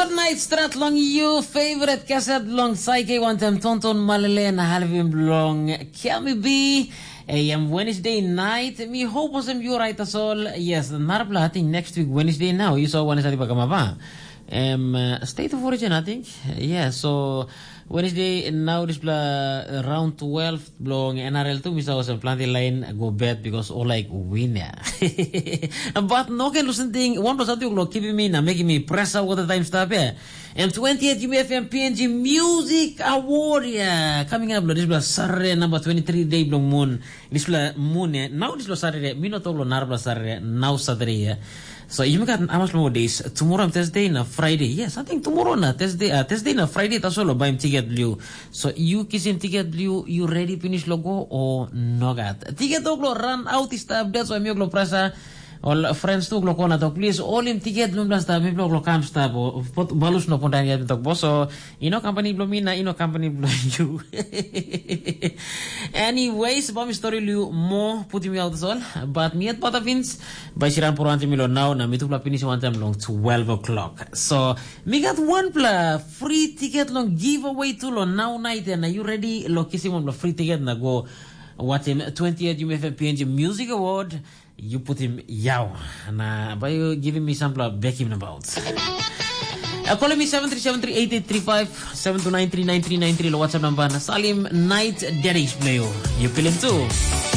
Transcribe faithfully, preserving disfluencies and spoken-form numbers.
Good night strat long you favorite kaset long Saike wantem Tonton Malele na halvim long Kelmi B. Em Wednesday night, mi hope wasem you right as all. Yes, narapla I think next week Wednesday now. You saw Wednesday bakama ba. Em uh, State of Origin I think. Yeah, so Wednesday now dispela round twelve bilong N R L tu mi sa olsem planti lain go bet because all like winner. But no ken lusen ting, one plus something lo keeping me na making me press out all the time stop eh. And twenty-eight U F M P N G Music Award yeah, coming up lo dispela Saturday number twenty-three day bilong moon. Dispela moon eh. Now dispela Saturday, mi no talk lo narapla Saturday, now Saturday yeah. So you got how much more days? Tomorrow and Thursday na Friday. Yes, I think tomorrow na Thursday, uh, Thursday na Friday tasol lo baim ticket bliu. So you kisim ticket bliu, you ready finish lo go or no gat. Ticket tok lo run out is stop. That's why mi lo prasa. All friends tu lo kona tok please all him ticket lo blasta mi lo kam stop o balus no pondan yet tok boso. Ino company blo mi na ino company blo you. Anyways, bom story lu mo putim out all. But mi at bata fins. By siran poro anti milo now na mi tupla finish one time long twelve o'clock. So mi got one pla free ticket long giveaway tu lo now night na you ready lo kisim one pla free ticket na go watching twentieth U F M P N G Music Award. You put him yau na by you giving me some pla bekim about. Uh, call me seven three seven three eight eight three five, seven two nine three nine three nine three lo WhatsApp number na Salim Night Daddy Playo. You feel him too.